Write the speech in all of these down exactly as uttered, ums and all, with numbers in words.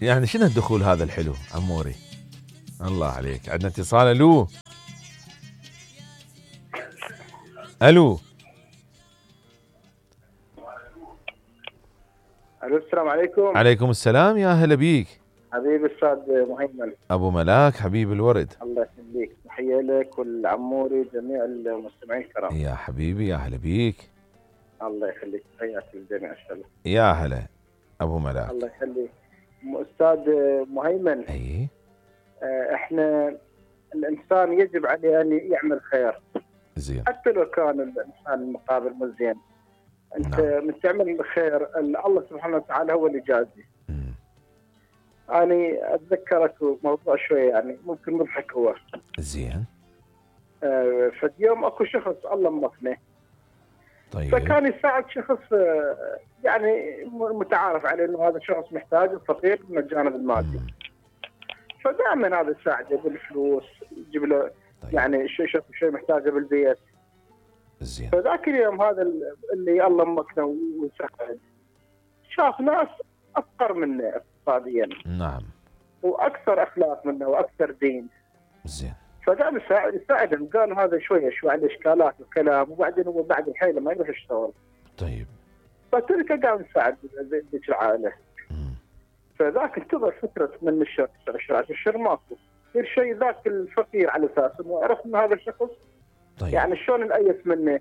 يعني شنو الدخول هذا الحلو عموري؟ الله عليك. عندنا اتصال. الو الو الو السلام عليكم. عليكم السلام، يا هلا بيك حبيبي استاذ مهيمن. ابو ملاك حبيب الورد. الله يخليك، تحيه لك والعموري جميع المستمعين الكرام. يا حبيبي يا هلا بيك. الله يخليك، تحياتي للجميع. السلام يا هلا ابو ملاك. الله يخليك استاذ مهيمن. اي احنا الانسان يجب عليه ان يعمل خير زين، حتى لو كان الانسان المقابل مو زين. انت نعم. من تعمل الخير الله سبحانه وتعالى هو اللي يجازي. أنا أتذكرك موضوع شوية يعني ممكن مضحك هو. زين. آه فاليوم أكو شخص الله مكنه. طيب. فكان يساعد شخص آه يعني متعارف عليه إنه هذا الشخص محتاج وفقير من الجانب المادي. مم. فدائما هذا يساعده بالفلوس، يجيب له طيب. يعني شيء شيء شيء محتاجه بالبيت. زين. فذاك اليوم هذا اللي الله مكنه ويساعد شاف ناس أفقر منه اقتصاديا. نعم. واكثر اخلاق منه واكثر دين. زين. فقام يساعد يساعدهم، قال هذا شويه شوي عنده اشكالات وكلام، وبعدين هو بعد الحين لما يروح يشتغل. طيب. فتركه قام يساعد ذيك العائله. امم. فذاك انتظر فتره من الشهر تسع شهور الشهر ماكو. يصير شيء ذاك الفقير على اساس انه عرف ان هذا الشخص. طيب. يعني شلون نأيس منه.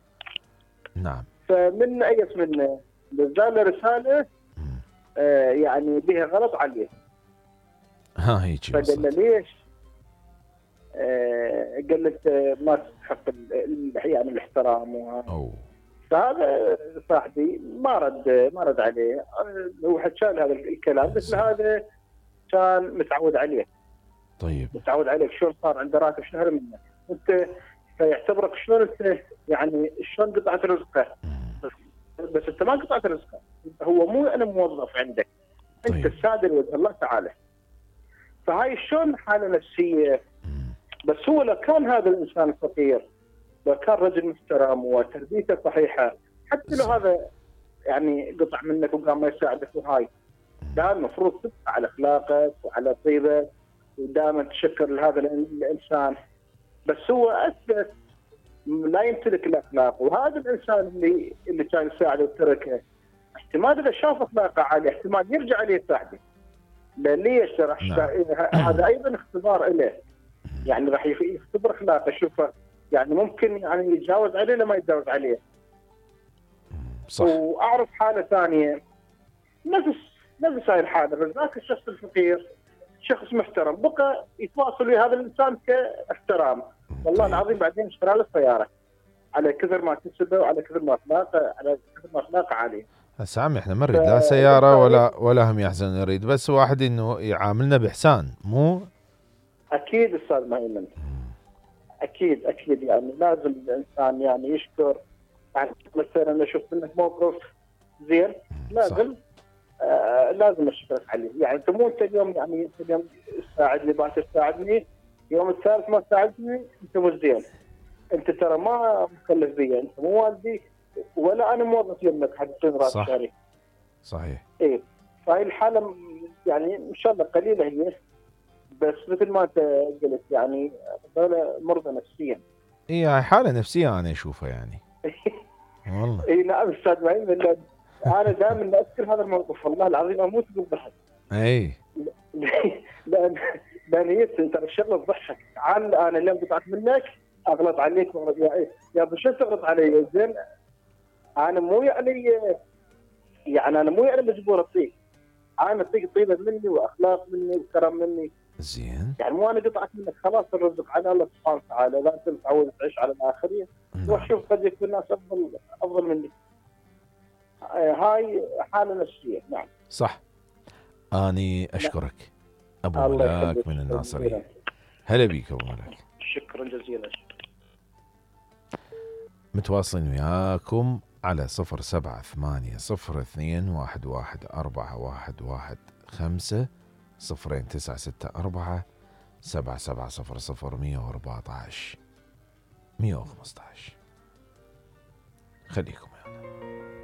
نعم. فمن نأيس منه نزل له رساله آه يعني بها غلط عليه. ها هيك. فقال له ليش؟ آه قال له ما تستحق يعني الاحترام وهذا. أوه. فهذا صاحبي ما رد ما رد عليه. هو حكى له هذا الكلام، قلت له هذا كان متعود عليه. طيب. متعود عليك، شلون صار عنده راتب شهر منه؟ انت فيعتبرك شلون انت يعني شلون قطعت رزقه. بس انت ما قطعت رزقه، هو مو انا موظف عندك. انت طيب. السادة لوجه الله تعالى. فهاي شلون حاله نفسيه. بس هو لو كان هذا الانسان فقير، لو كان رجل محترم وتربيته صحيحه، حتى لو هذا يعني قطع منك وقام ما يساعدك وهاي، لا المفروض تبقى على اخلاقك وعلى طيبك ودائما تشكر لهذا الانسان. بس هو اثبت لا يمتلك الاخلاق، وهذا الانسان اللي اللي كان يساعده وتركه احتمال اذا شاف اخلاقه عاليه احتمال يرجع عليه يساعده. ليش؟ راح نعم. هذا ايضا اختبار له. يعني راح يختبر اخلاقه، شوفه يعني ممكن يعني يتجاوز عليه لما يتجاوز عليه. صح. واعرف حاله ثانيه نفس نفس هاي الحاله، ذاك الشخص الفقير شخص محترم بقى يتواصل ويا هذا الانسان كاحترام. والله العظيم بعدين اشترى له سياره على كثر ما كسبه وعلى كثر ما اخلاقه على كثر ما اخلاقه عاليه. هسه عمي احنا ما نريد لا سياره ولا ولا هم يحزن، نريد بس واحد انه يعاملنا باحسان. مو اكيد استاذ مهيمن، اكيد اكيد يعني لازم الانسان يعني يشكر. يعني مثلا انا شفت منك موقف زين لازم آه لازم اشكرك عليه. يعني انت مو انت اليوم يعني انت اليوم تساعدني باكر تساعدني، يوم الثالث ما ساعدتني انت مو زين. انت ترى ما مكلف بي، انت مو والدي ولا انا موظف يمك حتى تصير راتب شهري. صحيح. ايه فهي الحاله يعني ان شاء الله قليله هي، بس مثل ما انت قلت يعني هذول مرضى نفسيا. اي هاي حاله نفسيه انا اشوفها يعني. والله. اي نعم استاذ مهيمن، انا دائما اذكر هذا الموقف والله العظيم اموت بالضحك. اي لان لان هي ترى الشغله تضحك. تعال انا اليوم قطعت منك اغلط عليك يا يا ابو شو تغلط علي زين؟ انا مو يعني يعني انا مو يعني مجبور اعطيك، انا اعطيك طيبه مني واخلاق مني وكرم مني. زين. يعني مو انا قطعت منك خلاص الرزق على الله سبحانه وتعالى، لا انت متعود تعيش على الاخرين. روح شوف قد يكون الناس افضل افضل مني. هاي حاله نفسيه. نعم صح. اني اشكرك ابو ملاك من الناصريه. هلا بيك ابو ملاك. شكرا جزيلا. متواصلين وياكم على صفر سبعة ثمانية صفر اثنين واحد واحد أربعة واحد واحد خمسة صفرين تسعة ستة أربعة سبعة سبعة صفر صفر مية وأربعة عشر مية وخمسة عشر. خليكم